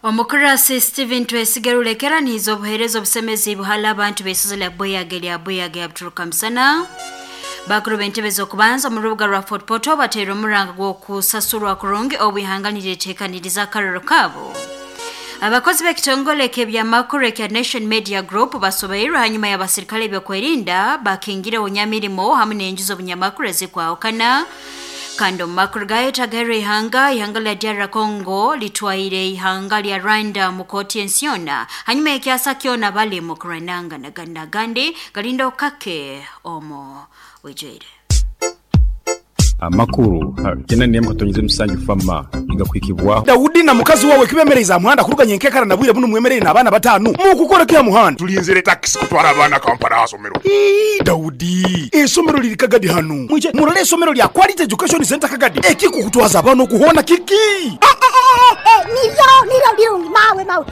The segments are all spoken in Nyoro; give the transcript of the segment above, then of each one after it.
Omukurasi Stephen Twesige Rulekera niiza obuheereza obusemezi buhala abantu b'eisozi lya Buyage lya Buyage ya Musana. Bakuru b'entebe z'okubanza omu rubuga rwa Fort Portal bateire omuranga gw'okusasurwa kurungi obwihanga niryeteekaniriza akaroro kaabo. Abakozi b'ekitongole ky'ebyamakuru ekya Nation Media Group basobeirwe hanyuma y'abasirikale ebyokwerinda bakingireho nyamirimo hamu n'enju z'obunyamakuru ezikwahukana. Kandi omu makuru gayo tagairwe ihanga, ihanga lya DR Congo litwaire ihanga lya Rwanda mu kooti ensi yona hanyuma y'ekyasa kyona bali mu kurwanangana agandi galinda okake omu bwijwire. Amakuru 97 fama igakwikibwaho. Daudi na mukazi wawe kibemereize aha muhanda kuruga nyenkekara na bwire bunu mwemereire n'abaana batano mukukora ki aha muhanda? Tulinzire takisi kutwara abaana Kampala aha somero. Ii, Daudi, esomero liri Kagadi hanu. Mwije murole esomero lya Quality Education Center Kagadi. Ekikukutwaza abaana okuhona kiki? Niryo niryo birungi mawe mawe.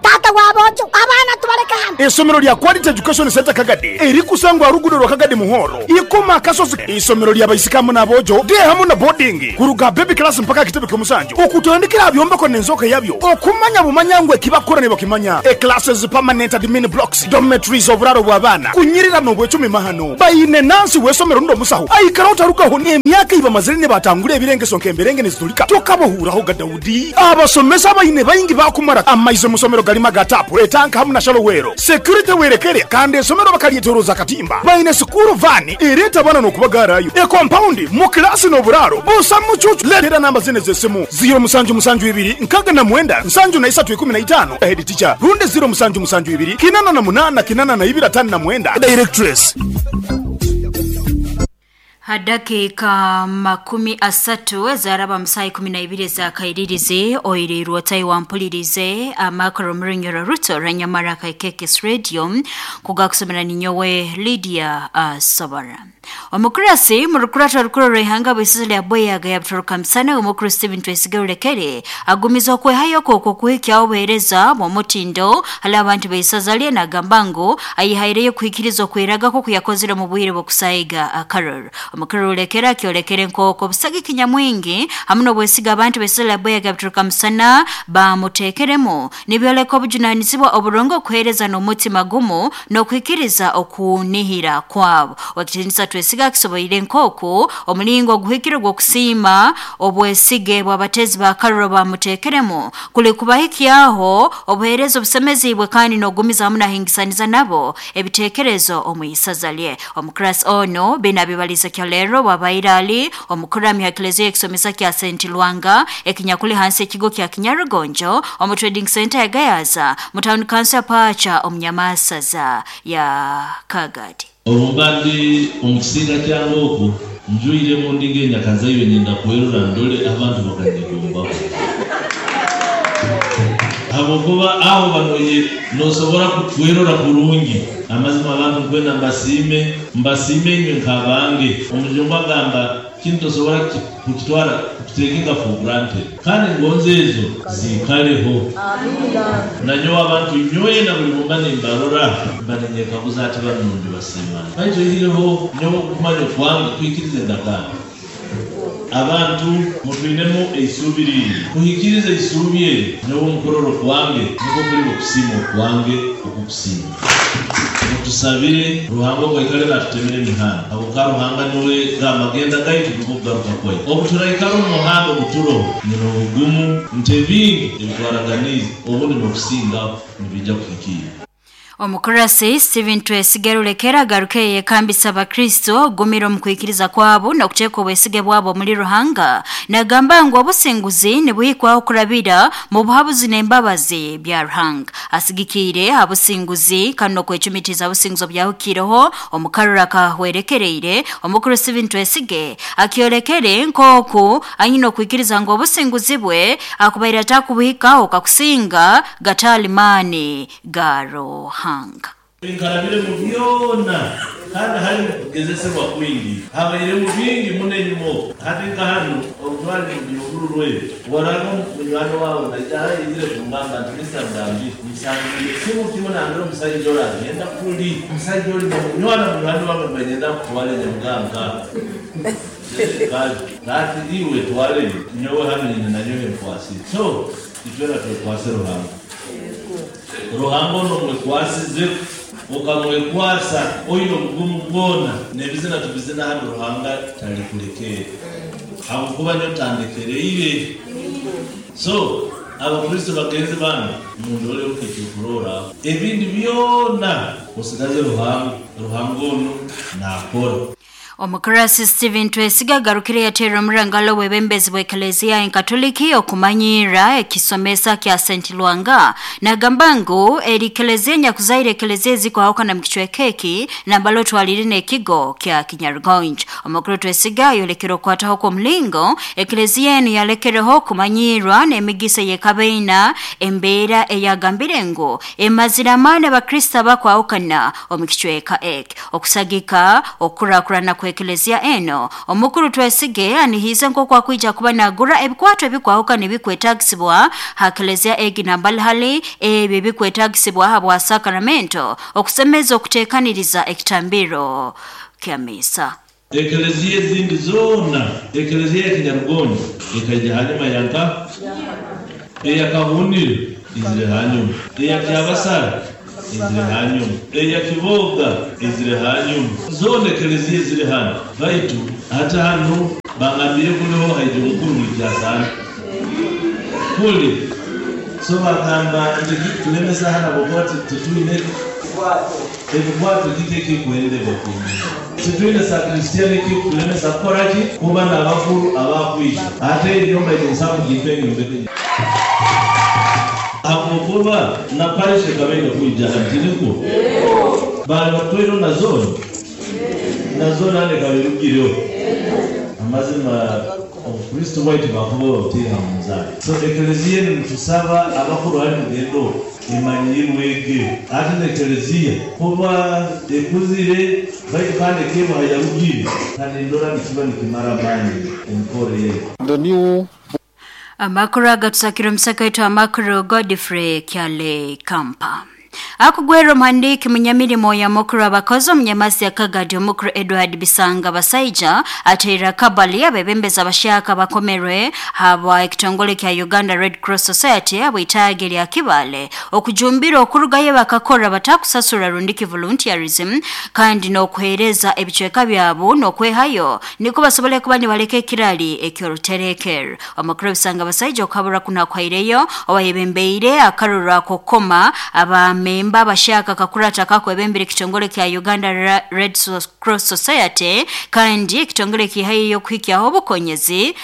Tata wabojo abaana tubaleka hano. Esomero lya Quality Education Center Kagadi erikusangwa rugudo rwa Kagadi Muhoro ikoma akasozi. Isomero lya baisikamu n'abojo de hamu na boarding kuruga baby class mpaka kitebe ky'omusanju okutandikira byombeko n'enzoka yabyo okumanya bumanya ngwe kibakora ne bakimanya. E classes permanent admin blocks dormitories oburaro bw'abaana kunyirira n'obwecumi mahano bayine nansi w'esomero ndo musaho aikara otarugaho n'emyaka ibamazire ne batangura ebirengeso nk'emberenge nezitulika tokabohuraho ga Daudi. Abasomesa bayine bayingi bakumara amaize musomero galima gatapu etanka hamu na shalowero security werekere kandi esomero bakalyetoroza katimba bayine sukuru vani ereta abana n'okubagarayo e compound mu klasi n'oburaro busa mucucu. Letera namba zine z'esimu 0772 69 73 15 head teacher runde 0772 88 82 59 directress. Hadakika 30 zaraba musayi 12 za kairirize oirirwa tai wampulirize amakaro murinyoro ruto ranyamara kaikekes radio kugakusomera ninyowe Lydia Sobara. Omukurasi murukurata rukuru rw'ihanga bw'isizo lya Bweyaga ya Butoroka Musana omukuru Stephen Twesige Rulekere agumiza okwehayo kwokwo kuhikya obuheereza bw'omutindo hali abantu b'eisaza lye nagamba ngu ayihaireyo kuhikiriza okweragako kuyakozire mu bwire bw'okusayiga akaroro. Omukuru Rulekere akyolekere nk'okwo obusagiki nyamwingi hamu n'obwesiga abantu b'eisaza lya Bweyaga ya Butoroka Musana bamuteekeremu nibyoleka obujunaanizibwa oburungi okuheereza n'omutima gumu n'okuhikiriza okunihira kwabo. Wakitinisa Twesiga akisoboire nk'oku omulingo oguhikire gw'okusiima obwesige bw'abatezi ba karoro bamuteekeremu kuli kubahikyaho obuheereza obusemezibwe kandi n'ogumiza hamu nahingisaniza nabo ebiteekerezo omu isaza lye. Omukurasi ono binabibaliza kyalero bwabaire ali omukurami ha Eklezia ekisomesa kya St. Lwanga ekinyakuli hansi ekigo kya Kinyarugonjo omu trading center ya Gayaza mu town council ya Pacha omunyamasaza ya Kagadi. Obumbandi omukisinga kyange okwo njwiremu ndi ng'enyakazaire nyenda kwerura ndole abantu bakanyegombaho habwokuba aho banoye nosobora kwerora kurungi. Amazima abantu nkwenda mbasiime mbasiime inywe nkabange. Omujungu agamba kintu tosobora kukitwara kukitekinga for granted kandi ngonze ezo ziikaleho. Nanyowe abantu nyowe na buli mumba nimbarora mbanenyekabuza ati banundi basiimana baitu oihireho nyowe okumanya okwange kwikiriza endagaano. Abantu mutwinemu eisuubi ringi kuhikiriza eisuubi eri nyowe omukororo kwange niko kuri okusiima okwange okukusiima. Mutusabire Ruhanga ogwaikare natutemere emihanda habwokuba Ruhanga niwe gamagenda gaitu niko kugaruka kwaitu. Obu turaikara omu muhanda oguturoho nyina obugumu nti ebingi ebitwaraganiize obundi n'okusingaho nibiija kuhikiira. Omukurasi Stephen Twesige Rulekera agaruke yekambisa abakristo ogumira omu kwikiriza kwabo n'okuteeka obwesige bwabo omuli Ruhanga nagamba ngu obusinguzi nibuhikwaho kurabira mu buhabuzi n'embabazi bya Ruhanga. Asigikiire abusinguzi kandi n'okwecumitiza obusinguzi obyahukireho omukarura kahwerekereire. Omukuru Stephen Twesige akyolekere nk'oku anyine okwikiriza ngu obusinguzi bwe akubaire atakubuhikaho kakusinga gatali maani ga Ruhanga. Nkarabire mu byona kandi hari kugezesebwa kwingi habaire mu bingi muno enyuma okwo hati nka hanu obutware mu rwe waranga munywani wawe naija hayizire kungamba nti Mr. Mugambi nsangire kimu kimu nambere omusajja oli agenda kuli omusajja oli munywana munywani wange mbanyenda kutwara Nyamuganga. Kati iwe twale nyowe hano nyina nanyowe nkwasire. So itwera twekwase Ruhanga. Ruhanga ono mwekwasize ukamwekwasa oine obugumu bwona nebizina tubizina hano Ruhanga talikulekere habwokuba nyo tandekereire. So abakristo bagenzi bange mundole ukekyokurora ebindi byona osigaze Ruhanga. Ruhanga ono nakora. Omukurasi Stephen Twesiga garukire yateera omurangalo w'ebembezi bw'Eklezia Enkatoliki okumanyira ekisomesa kya St. Lwanga nagamba ngu eri Eklezia nyakuzaire Eklezia ezikuhawukana mu kicweka eki nambalo twalire n'ekigo kya Kinyarugonjo. Omukuru Twesiga yolekere okwataho kw'omulingo Eklezia enu yalekereho okumanyirwa n'emigisa y'ekabeina embeera eyagambire ngu emazire amaani abakristo abakwahukana omu kicweka eki okusagika okukurakurana kwa Eklezia eno. Omukuru Twesige anihize nk'oku akwija kuba nagura ebikwato ebikwahukana ebikwetagisibwa ha Eklezia egi nambalihali ebyo ebikwetagisibwa habwa sakramento okusemeza okuteekaniriza ekitambiro kya misa. Eklezia ezindi zoona, Eklezia ya Kinyarugonjo ekaija hanyuma yanka eyakahunire izire hanyuma, eya Kyabasara izire hanyuma, eya Kiboga izire hanyuma, zoona eklezia eziri hano. Baitu hata hano bangambire kuliho haija omukuru buli kyasana kuli so bagamba nti tulemesa hano habwokuba titwine ebikwato kiki ekikuherere bakumira titwine sakristiani ekikulemesa kukoraki kuba n'abakuru abakwija ate enyumba ekinsamu gimpe enyombeke habwokuba na parish ekabaire kwija hano tiniko bali batwire na zone na zone hano ekaba erugireho amazima obukristo bwaitu bakuba babutiiha mu nzaaro. So eklezia enu nitusaba abakuru hali mugendo emanyirwege ate n'eklezia kuba ekuzire baitu kandi ekebaha yarugire kandi ndora nikiba nikimara amaani emikoro yetu. The new Amakuru agatusakira omusaka wetu amakuru Godfrey Kyale Kampa. Akugwera omuhandiiki munyamirimo ya mukuru abakozi omunyamasi ya Kagadi omukuru Edward Bisanga Basaija ateera kabali abebembezi abashaka bakomerwe habwa ekitongole kya Uganda Red Cross Society abwitaage lya Kibale okujumbira okurugayo bakakora batakusasura rundiki volunteerism kandi n'okuheereza ebicweka byabo n'okwehayo niko basobole kuba nibaleka ekirali ekyoruterekero. Omukuru Bisanga Basaija okabura kunakwaireyo owayebembeire akarura kokoma aba memba abashaka kakurata kakwebembere ekitongole kya Uganda Red Cross Society kandi ekitongole kihayo kuhikyaho obukonyezi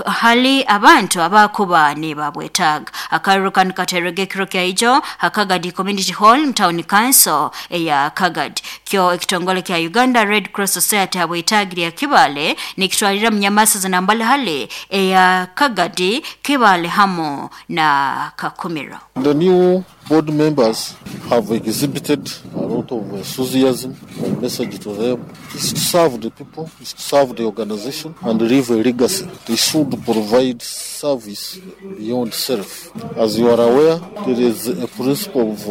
hali abantu abakuba nibabwetaaga. Akaruru kanu katerege ekiro kya ijo Kagadi Community Hall Town Council eya Kagadi. Kyo ekitongole kya Uganda Red Cross Society habwetaagi lya Kibale nikitwalira munyamasa zinambalihali eya Kagadi, Kibale hamo na Kakumiro. The new board members have exhibited a lot of enthusiasm. My message to them is to serve the people, is to serve the organization and leave a legacy. They should provide service beyond self. As you are aware, there is a principle of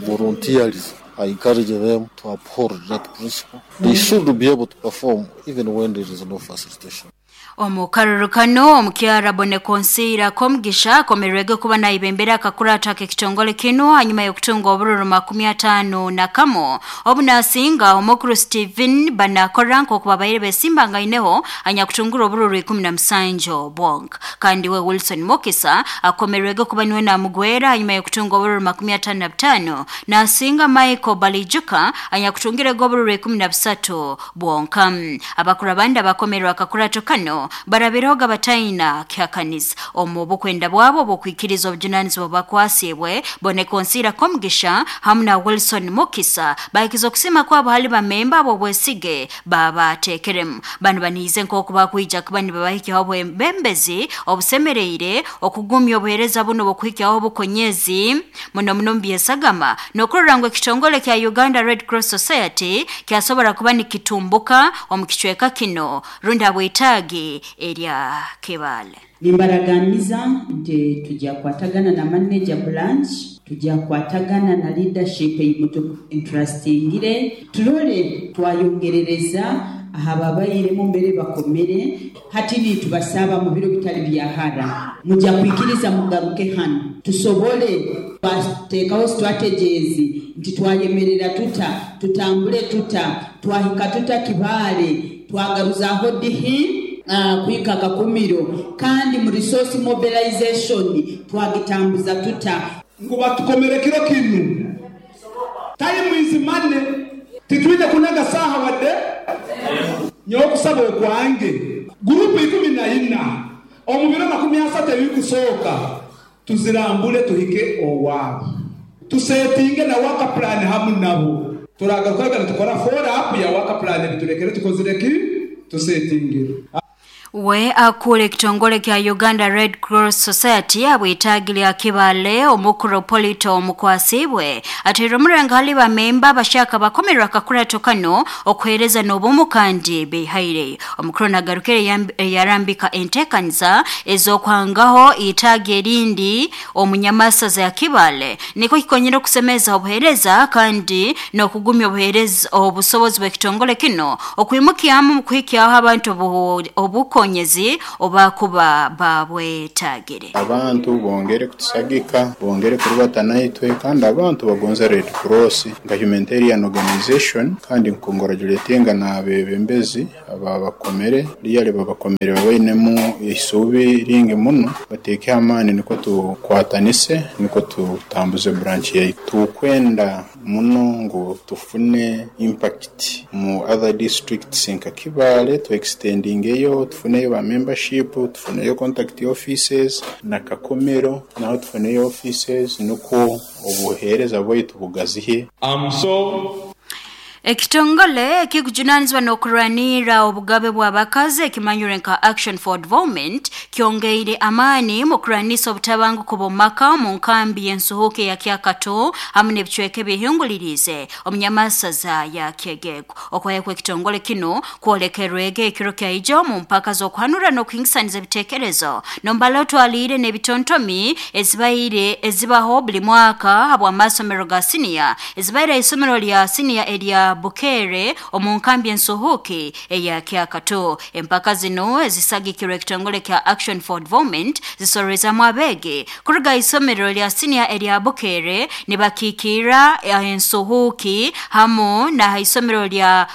volunteerism. I encourage them to uphold that principle. They should be able to perform even when there is no facilitation. Omukaruru kano omukyara Bonekonsiira Komugisha akomerwege kuba naibembera akakurata k'ekitongole kino hanyuma y'okutunga obururu 51 obunasinga omukuru Stephen Banakora nk'okuba baire besimbangaineho anyakutungura obururu 17 bwonka. Kandi we Wilson Mukisa akomerwege kuba niwe namugwera hanyuma y'okutunga obururu 55 nasinga Michael Balijuka anyakutungirego obururu 13 bwonka. Abakuru abandi abakomerwa akakurato kano barabiroga bataina kyakanisa omu bukwenda bwabo bukwikiriza obujunanizibwa bakwasibwe Bonekonsiira Komugisha hamu na Wilson Mukisa bahikiza okusima kwabo hali bamemba abo bwesige babatekeremu. Bano baniize nk'oku bakwija kuba nibabahikyaho obwebembezi obusemereire okugumya obuheereza buno bukuhikyaho obukonyezi muno muno mu byesagama n'okurora ngu ekitongole kya Uganda Red Cross Society kyasobora kuba nikitumbuka omu kicweka kino rundi habwetaagi erya Kibale. Nimbaraganiza nti tujja kwatagana na manager branch, tujja kwatagana na leadership eyimutu entrustingire, turole twayongerereza Ahababairemu mbere bakomere hati nitubasaba mu biro bitali bya hara mujja kwikiriza mugaruke hano tusobole bateekaho strategies nti twayemerera tuta tutambule tuta twahika tuta Kibaale twagaruzaho dihi kuhika Kakumiro kandi mu resource mobilization twagitambuza tuta Ngu batukomere kiro kinu tali mwizimane titwine kunaga saha wadde nyokusaba okwange gurupu 14 omubiro 30 ebikusooka tuzirambule tuhike owaabo tusetinge na waka plan hamu nabo turagarukaga nitukora follow up ya waka plan biturekere tukozireki tusetingire. We akule ekitongole kya Uganda Red Cross Society abwetagile akibale omukuru Polito omukwasibwe atera omurenga hali bamemba bashaka bakomerwa akakurato kano okuhereza n'obumu kandi behaire. Omukuru nagarukire yarambika entekanisa ez'okwangaho itaage erindi omunyamasaza ya Kibale niko kikonyera okusemeza obuhereza kandi n'okugumya obuhereza obusobozi bw'ekitongole kino okwimukiamu mu kuhikyaho abantu obuko konyezi oba kuba babwetagire. Abantu bongere kutusagika, bongere kurubatana itwe, kandi abantu bagonza Red Cross nka humanitarian organization, kandi nkongratulatinga n'abebembezi ababakomere liyale babakomere babainemu isubi ringi muno bateke amani niko tukwatanise niko tutambuze branch yaitu. Tukwenda muno ngo tufune impact mu other districts nka Kibale, tu extendingeyo tufuneyo ba membership, tufuneyo contact offices na Kakomero naho tufuneyo offices nuko obuhereza bwaitu bugazihe. I'm so Ekitongole ekikujunanizwa n'okurwanira obugabe bw'abakazi ekimanyire nka Action for Development kyongeire amaani mu kurwanisa obutabanguko bw'omumaka mu nkambi y'ensuhuke ya Kyakato hamu n'ebicweka ebihingulirize omunyamasaza ya Kyegegwa. Okwayekwa ekitongole kino kwolekerwege ekiro kyaijo mu mpaka z'okuhanura n'okuhingisaniza ebitekerezo nombala otwaliire n'ebitontomi ezibaire ezibaho buli mwaka habw'amasomero ga siniya ezibaire isomero lya siniya erya Bukere omu nkambi ensuhuki eya Kyakato. Empaka zino ezisagikirwe ekitongole kya Action for Development zisorezamu abege kuruga isomero lya siniya erya Bukere nibakikira ensuhuki hamu na isomero lya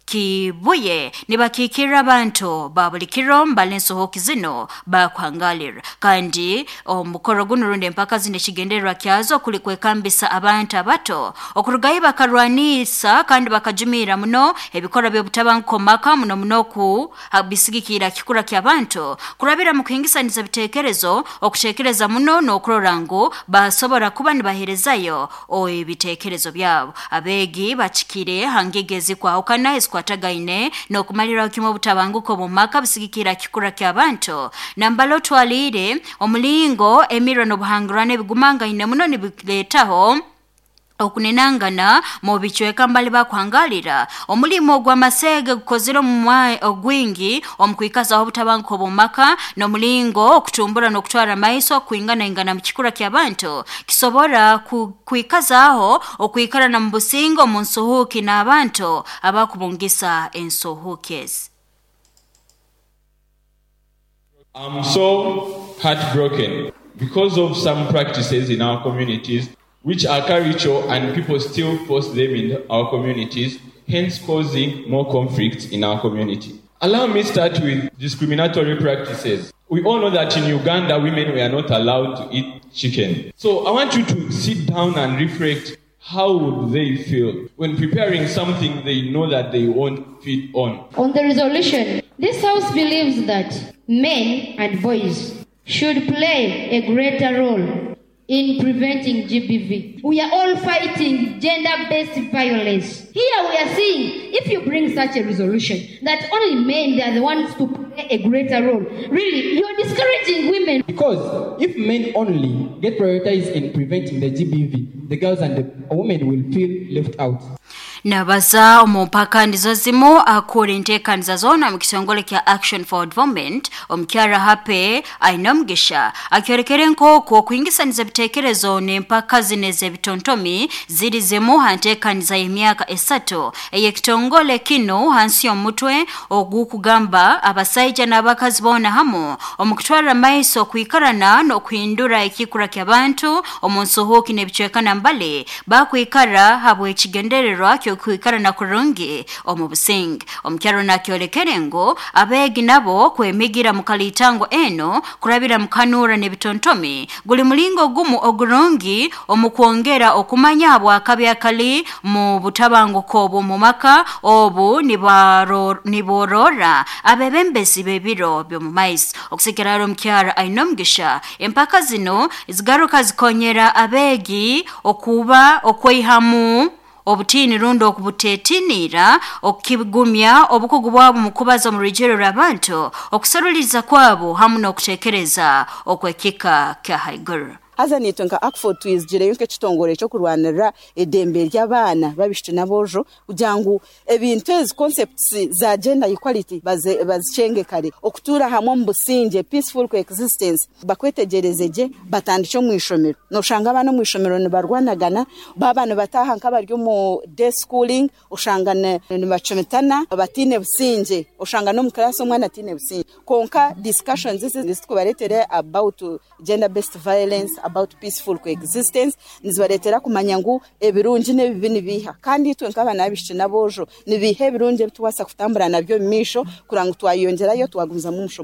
Kibuye nibakikira abantu ba buli kiro mbale ensuhuki zino bakwangalira. Kandi omukoro guno rundi empaka zino ekigendererwa kyazo kuli kwekambisa abantu abato okurugayo bakarwanisa kandi bakajumira muno ebikorwa by'obutabanguko maka muno muno ku bisigikira kikura ky'abantu kurabira mu kuhingisaniza ebitekerezo okutekereza muno n'okurora ngu basobora kuba nibaherezayo ebitekerezo byabo. Abegi bakikire hangigezi kwahukana kwatagaine n'okumalira kimwe obutabanguko bw'omumaka bisigikira kikura ky'abantu nambalo twalire omulingo emiro n'obuhangirano ebigumangaine muno nibileetaho okunenangana mu bicweka mbali bakuhangalira. Omulimo gw'amasege gukozere ogwingi omukwikazaho obutabanguko bw'omumaka n'omulingo okutumbura n'okutwara maiso kwinganaingana mu kikura ky'abantu kisobora kwikazaho okwikarana mu busingo mu nsuhuki n'abantu abakubungisa ensuhuki ezi. I'm so heartbroken because of some practices in our communities which are cultural and people still force them in our communities, hence causing more conflicts in our community. Allow me start with discriminatory practices. We all know that in Uganda, women were not allowed to eat chicken. So I want you to sit down and reflect, how would they feel when preparing something they know that they won't feed on? On the resolution, this House believes that men and boys should play a greater role in preventing GBV. We are all fighting gender-based violence. Here we are seeing, if you bring such a resolution, that only men, they are the ones to play a greater role. Really, you're discouraging women. Because if men only get prioritized in preventing the GBV, the girls and the women will feel left out. Nabaza omu mpaka ndizo zimu akura enteekaniza zoona mu kitongole kya Action for Development omukyara Hape Ainomugisha akyorekere nk'okwo okuhingisaniza ebiteekerezo n'empaka zino ez'ebitontomi ziri zimu ha nteekaniza y'emyaka 3 ey'ekitongole kino hansi y'omutwe ogukugamba abasaija n'abakazi boona hamu omu kutwara maiso okwikarana n'okuhindura ekikura ky'abantu omu nsuhuuki n'ebicwekana mbale bakwikara habw'ekigendererwa ky'okwikara na kurungi omu businge. Omukyaro nakyolekere ngu abeegi nabo kwemigira mu kalitango eno kurabira mu kanuura n'ebitontomi guli mulingo gumu ogurungi omu kwongera okumanya habwakabi akali mu butabanguko obw'omu maka obu niborora abebembezi b'ebiro by'omu maiso. Okusikiraro omukyara Ainomugisha empaka zino zigaruka zikonyera abeegi okuba okweihamu obutini rundo okubutetinira okukigumya obukugu bwabo mu kubaza mu rugero rw'abantu okusaruliza kwabo hamu n'okutekereza okwekika kya haiguru. Haza nitwe nka ACFOD twizigireyo nk'ekitongore ekyokurwanirira eddembe ry'abaana babishiki n'aboojo kugira ngu ebintu ezi concepts za gender equality bazikyenge kare okutuura hamwe omu busingye peaceful coexistence bakwetegereze gye batandike omu ishomero. Noshanga abaana omu ishomero nibarwanagana baba nibataaha nk'abari omu day schooling oshanga nibacumitana batiine busingye oshanga n'omu class omwana atiine busingye. Konka discussions ezi zitukubareetere about gender based violence, about peaceful coexistence nizibareetera kumanya ngu ebirungi n'ebibi nibiiha kandi itwe nk'abaana b'abishiki n'aboojo nibiiha ebirungi ebitubaasa kutambura nabyo omu maisho kuranga twayeyongyerayo twagumizamu omushomo.